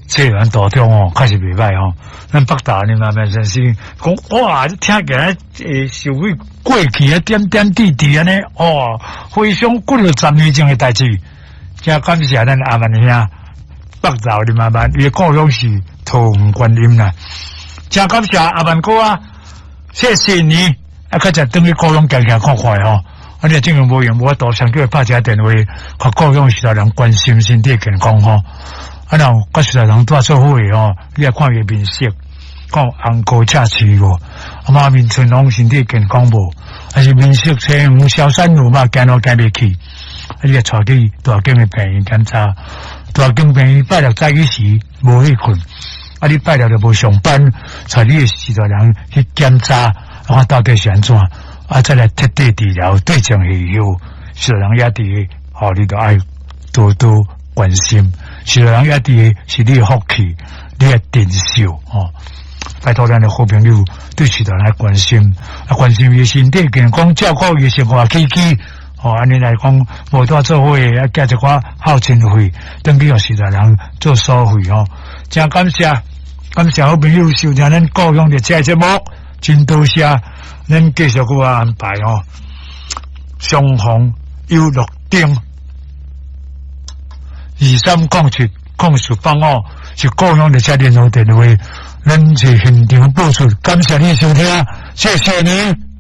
這個人大中哦，確實袂䆀吼。咱北投林阿曼先生講，哇，這聽起來會想起過去的點點滴滴按呢，哦，回想幾落十年前的代誌。真感謝咱阿曼兄，北投林阿曼，伊的故鄉是桃園觀音啦。真感謝阿曼哥啊，謝謝你，啊，較才轉去故鄉行行看看吼。啊，你正經無閒無法度，先叫伊拍一個電話，予故鄉序大人關心身體健康吼。啊，若有佮序大人蹛做伙的吼，你來看伊面色，看紅膏赤喙無？啊，滿面春風，身體健康無？還是面色青黃消散有嘛？行路行袂去？啊，你來帶去大間的病院檢查，大間病院拜六早起時無去睏，啊，你拜六就無上班，帶你的序大人去檢查，看到底是按怎？啊，再來徹底治療，對症下藥，序大人也佇，吼，你著愛多多關心。序大人也佇是你的福氣，你愛珍惜吼。拜託咱的好朋友對序大人來關心，啊，關心伊身體健康，照顧伊生活起居。吼，按呢來講，無蹛做伙的，啊，寄一寡孝親費，轉去予序大人做所費吼。真感謝，感謝好朋友收聽咱故鄉的這個節目，真多謝。咱繼續閣安排吼，雙方有綠燈，23070485是故鄉的這聯絡電話，咱是現場播出，感謝你收聽，謝謝你。